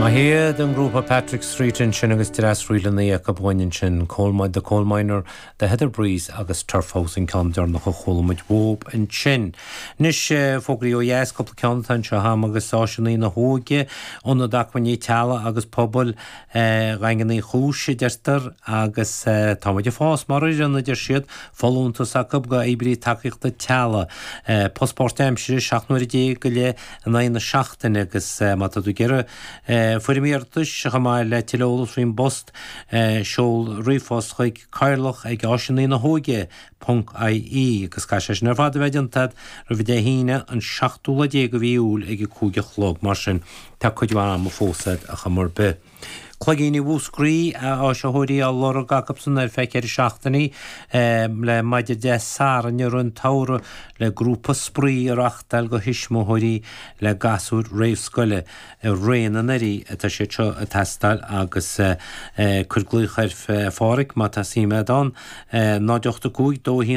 Maith iad an grúpa Patrick Street ansin agus dreas ríleanna acu uainn ansin, Coal Mine, The Coal Miner, The Heather Breeze agus Turf House an ceann deireanach a chuala muid uathub ansin. Anois, fógraí ó dheas, cúpla ceann atá anseo agam agus Áiseanna na hÓige, Ionad Acmhainní Teaghlaigh agus Pobail Dhaingean Uí Chúis a deirtear agus tá muid ag fás mar fhoireann a deir siad, folúntas acu go oibrí tacaíochta teaghlaigh, post páirtaimsire 17 nuaire go leith in aghaidh na seachtaine agus má tá tú ag iarraidh foirm iarratais chomh maith le tuilleadh eolais faoin bpost, seol ríomhphost chuig cathaoirleach ag áiseanna na hóige ponc ie agus caithfidh sé sin ar fad a bheith déanta agat roimh Dé hAoine an seachtú lá déag de mhí Iúil ag a 5 a chlog mar sin tá cuid mhaith ama fós agat ar chuma ar bith. Cloigíní Mhúscraí, áisitheoirí á lorg acubsan ar feadh 4 seachtainí le maidin Dé Sathairn i rith an tsamhraidh le grúpa spraoi a reachtáil do thuismitheoirí le gasúir réamhscoile. I rith an earraigh atá siad seo ag teastáil agus cuir glaoch ar Phádhraic má tá suim agat ann, 0 8 5 2 1.